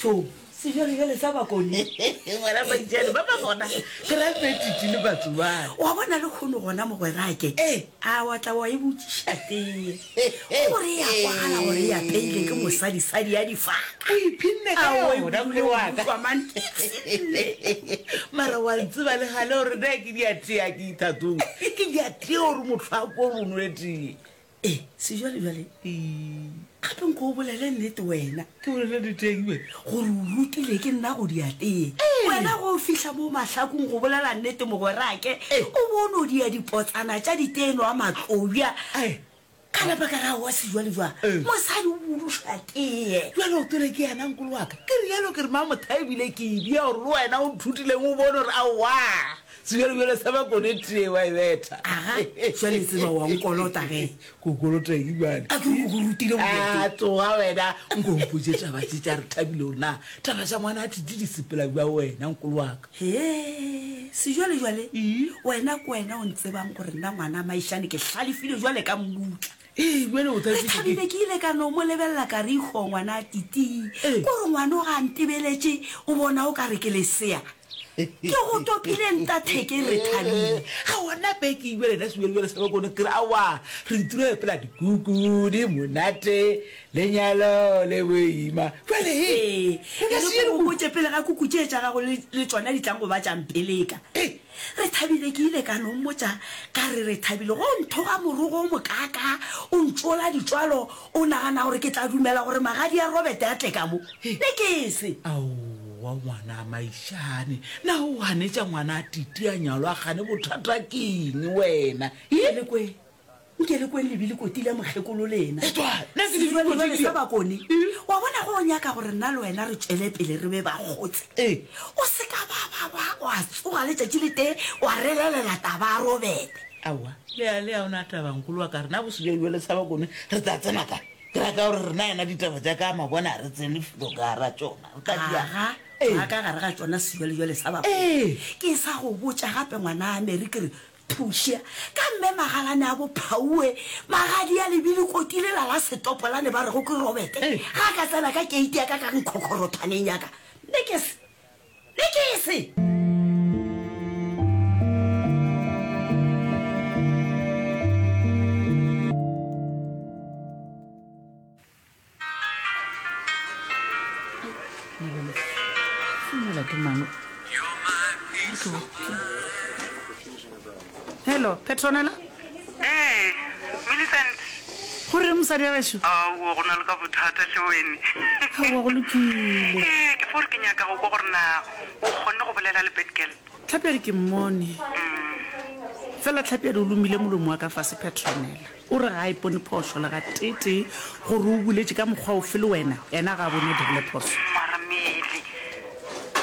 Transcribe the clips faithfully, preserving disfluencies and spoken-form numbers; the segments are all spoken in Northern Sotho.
So sejwalejwale sa bakone ngwana maitšane ba ba gona ke ra betiti le batsobane wa bona le kgono gona mogwerake Ee. a wa tla wa e botšiša tee gore e a kwagala gore e apeile ke mosadisadi ya difaka o iphinne ka Aowa, yona ebile nkolo wa ka utlwa man, ke ipshinne. mara wa ntseba le gale gore na ke diatee ke ithatong ke diatee gore motho a ko gore o nole tee ee sejwalejwale gape nko o bolele nnete wena ke bolele diteng be gore o rutile ke nna go diatee wena go fihla mo mahlakong go bolela nnete mogwerake o bone o dia dipotsana tša diteno a matlobja Ai. ka napa ka ra wa sejwalejwale Ee. mosadi o buduša tee jalo o tole ke yana nkolo wa ka ke rialo ke re mamotha ebile ke ebia gore le wena o nthutileng o bone gore aowa sejwalejwale sa bakone tee wa e betha aga jwale tseba wa nkolota ge ko kolota eng bjale a ke re ko go rutile go dia a tsoga wena nko mpotse taba tse tša re thabile gore na taba tša ngwana a tite di sepela bja wena nkolo wa ka he sejwalejwale Ee. wena ke wena o ntsebang gore nna ngwana maišane ke hlalefile jwale ka mmutla ee jale o re thabile ke ile ka no mo lebelela ka re ikgo ngwana a titii Ee. kore ngwana o ga ntebeletše o bona o ka re ke lesea ke go topile ntatheke re thabile ga ona peke ebjale nna sebjalebjale sa bakone ke re aowa re itire pela dikuku di monate lenyalo le boima jale ee e e re ko gopotse pele ga kuku tše tša gago le le tšona di tlang go ba tšampeleka Ee. re thabile ke ile ka no mmotša ka re re thabile go nthoga morogo o mokaka o ntsola ditswalo o nagana gore ke tla dumela gore magadi a robert a tle ka mo ne ke se aowa ngwana a maišane na o ganetša ngwana a tite a nyalo a gane bothata ke eng wena nke le kweng nke le kweng lebile koti la mokgekolo lena Etwa, nna ke Sejwalejwale lebile sa bakone wa bona go o nyaka gore nna le wena re tswele pele re be bakgotse Ee. o se ka ba ba ba wa tsoga letšatši le tee wa relelela taba a robete aowa lea lea o na tabankolo wa ka rena bosejwalejwale sa bakone re tla tsena kae ke raka gore rena yena ditaba tša ka mabona a re tsene felo ka ra tšona re tla dia aga Ee. ga ka gare ga tšona sejwalejwale sa bakone Ee. ke sa go botša gape ngwana a mary ke re thuša ka mme magalane a bophauwe magadi a lebile koti lela la setopolane ba rego ke robete Ee. ga a ka tsena ka keiti ya ka ka nkgokgorothwaneng yaka ne ke se ne ke se founela ke mang hello petronela ee millicent gore mosadi ya gešo aowa go na le ka bothata hle wene aowa go lokile ee ke fore ke nyaka go kwa gore na o kgonne go bolela le batgirl tlhapiadi ke mmone fela tlhapiadi o lomile molomo wa ka fase petronela o re ga a ipone phošo le ga tete gore o boletse ka mokgwa ofe le wena yena ga a bone o dirile phoso mara mele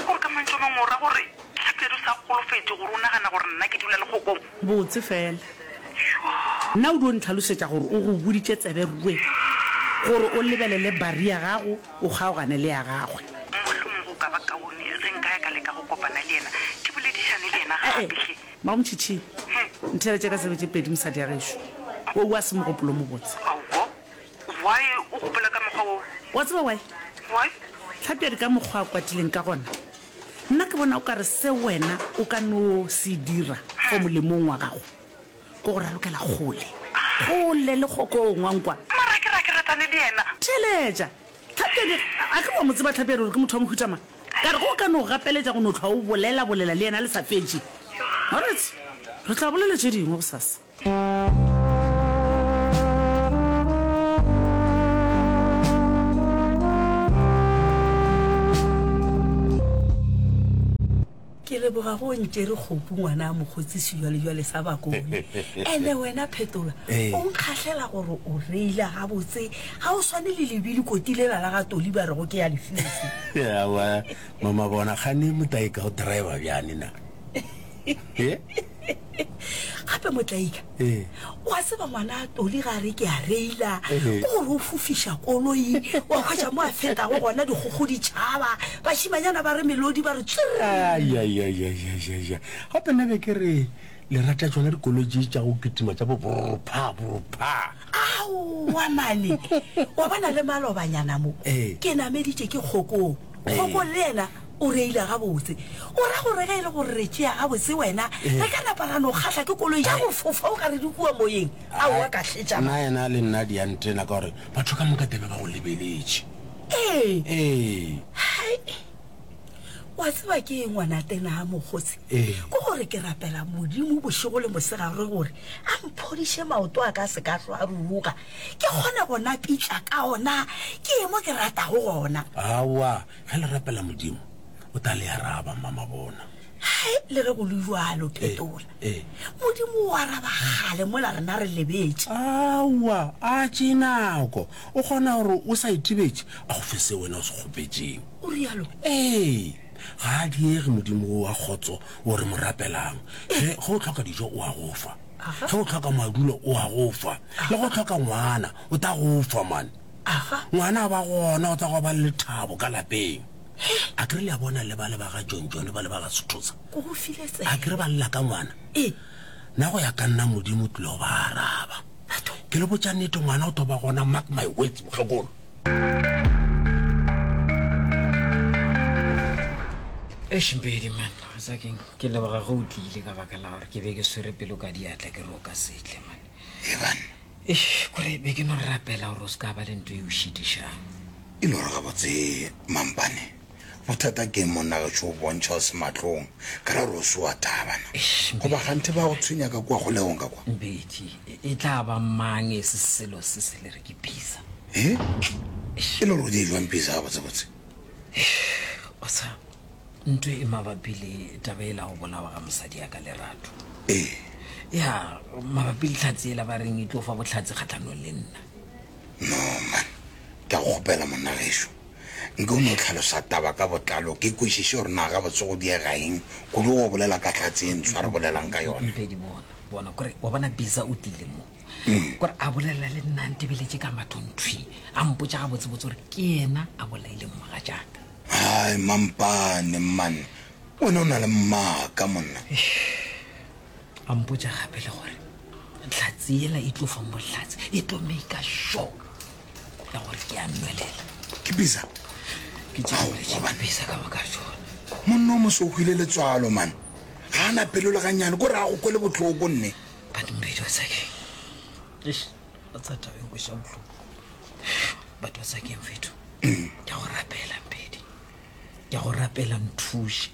gore ka mantso a mangwe o ra gore tlhapiadi o sa golofetse gore o nagana gore nna ke dula le kgokong botse fela nna o dio ntlhalosetša gore o go boditše tsebe rue gore o lebelele bari ya gago o kgaogane le ya gagwe mohlomong go ka ba kaone ge nka ya ka leka go kopana le yena ke boledišane le yena ee gape hle mamotšhitšhi ntheletše ka tsebe tše pedi mosadi ya gešo o o a se mogopolo mobotse aowa why o gopola ka mokgwa oo wa tseba wae why tlhapiadi ka mokgwa a kwatileng ka gona nna ke bona o ka re se wena o ka no se dira for molemong wa gago ke go ralokela kgole kgole le kgokong wa nkwa mara ke ra ke ratane le yena theletša tlhapiadi a ke wa mo tseba tlhapiadi gore ke motho wa mohutama ka re go ka no gapeletša go no tlhwa o bolela bolela le yena le sa fetše alright re tla bolela tše dingwe gosasa ke leboga go ntšere kgopu ngwana a mokgotsi sejwalejwale sa bakone ene wena phetola Ee. o nkgahlela gore o reile gabotse ga o swane le lebile koti lela la ga toli ba rego ke ya lefisi awa mama bona gane motaika o driver bjane na e gape motlaika Ee. wa tseba ngwana a toli ga re ke a reila Ee. ke gore o fofiša koloi wa hwetša mo a fetago gona dikgogo ditšhaba bašimanyana ba re melodi ba re tswere aiaiaiaiaia gape nna be ke re le rata tsona dikoloi tše tša go kitima tša bo borpha borpha aowa mane wa bona le malobanyana mo Ee. ke nameditše ke kgokong Kgokong le yena o reile gabotse. O ra gore ge e le gore re tšea gabotse wena, re ka napa ra no kgahla ke koloi ya go fofa o ka re di kua moyeng? Aowa ka hletša. Nna yena le nna di a ntena ka gore batho ka moka tebe ba go lebeletše. Ee. Ee. Hai. Wa tseba ke eng ngwana tena mokgotsi? Ee. Ke gore ke rapela Modimo bošego le mosegare gore a mphodiše maoto a ka se ka hlwa a ruruga, ke kgone go napitla ka ona ke ye mo ke ratago gona. Aowa, ge le rapela Modimo, o tla le araba, Mmamabona. Hai, le ge go le bjalo, Phetola, Ee. Modimo o araba kgale mola rena re lebetše. Aowa, a tšee nako. O kgona gore o sa itebetše, a go fe seo wena o se kgopetšeng. O realo? Ee, ga a diege Modimo wo wa kgotso wo re mo rapelang. Ge, ge o hloka dijo, o a go fa. Aga. Ge o hloka madulo, o a go fa. Le ge o hloka ngwana, o tla go fa, man. Aga. Ngwana a ba gona, o tla go ba le lethabo ka lapeng. A ke re le a bona le ba le ba ga John John ba le ba ga Sethosa. Ko go file tsebe. A ke re ba lla ka ngwana. Ee. Nna go ya ka nna Modimo o tlile go ba araba. Batho. Ke le botša nnete ngwana o tlo ba gona mark my words mokgekolo. Eish Mpedi man, wa tseba keng ke leboga ge o tlile ka baka la gore ke be ke swere pelo ka diatla ke re o ka se tle man. Ee banna. Eish kore be ke no rapela gore o se ka ba le ntho e o šitišang. E le gore gabotse Mampane, bothata ke eng monna gešo o bontšha o se mahlong ka ra gore o se wa tabana. Eish Goba kganthe ba go tshwenya ka kua kgolegong ka kwa? Mpedi, e tla ba mang e se selo se se le re ke Bisa? E? E le gore o di jwang Bisa gabotsebotse? Eish, o sa ntho e mabapi le taba e la go bolawa ga mosadi ya ka Lerato. Ee. Ya, mabapi le tlhatse ela ba reng e tlo fa bohlatse kgahlanong le nna. No man, ke a go kgopela monna gešo. Nke o no hlalosa taba ka botlalo ke kwešiše gore na gabotse go diega eng kudu go bolela ka hlatse e ntshwa re bolelang ka yona. Mpedi bona, bona kore wa bona Bisa o tlile mo. Kore a bolela le nna a ntebeletše ka mathong thwi, a mpotša gabotsebotse gore ke yena a bolaileng mogatšaka. Hai Mampane man, wena o na le maaka monna. A mpotša gape le gore hlatse yela e tlo fang bohlatse, e tlo make sure ya gore ke a nwelela. Ke Bisa? Ke tše Ao, boletše gobane. Bisa ka baka tšona. Monna o moso o hwile letswalo man, ga a na pelo le gannyane, kore a go kwele bohloko nne. But Mpedi wa tseba keng? Eish, wa tseba taba e nkweša bohloko. But wa tseba keng fetho? Ke a go rapela Mpedi, ke a go rapela nthuše,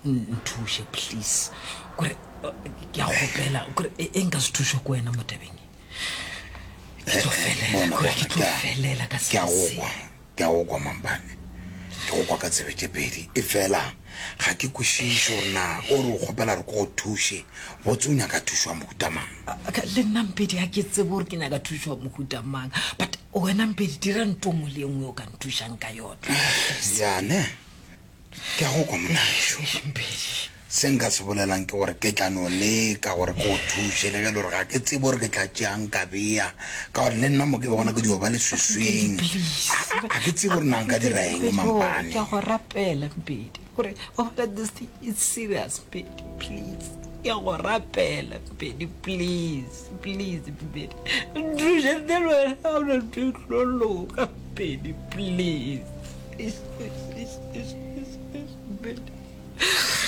nthuše please. Kore ke a kgopela kore e, e nka se thušwe ke wena mo tabeng e. Ke tlo felela, Bona, kore bona, ke tlo ke a- felela ka ke a selo go se. kwa, ke a go kwa Mampane, ke go kwa ka tsebe tše pedi. E fela ga ke kwešiše gore na o re o kgopela gore ke go thuše, botse o nyaka thušo ya mohuta mang? A, ka, le nna Mpedi ga ke tsebe gore ke nyaka thušo ya mohuta mang, but wena Mpedi dira ntho nngwe le nngwe o ka nthušang ka yona. Ya ne, ke a go kwa monna gešo. Eish, Mpedi. Se nka se bolelang ke gore ke tla no leka gore ke go thuše, le ge e le gore ga ke tsebe gore ke tla tšeang ka bea, ka gore le nna mo ke bona ke dio ba leswiswing. Please. Ga ke tsebe gore na nka dira eng Mampane. Ke a go rapela Mpedi gore wa bona this thing is serious Mpedi, please. Ke a go rapela Mpedi, please, please Mpedi. Nthuše ntle le wena ga ona ntho e tlo loka Mpedi, please. Eish, eish, eish, eish, eish, eish, Mpedi.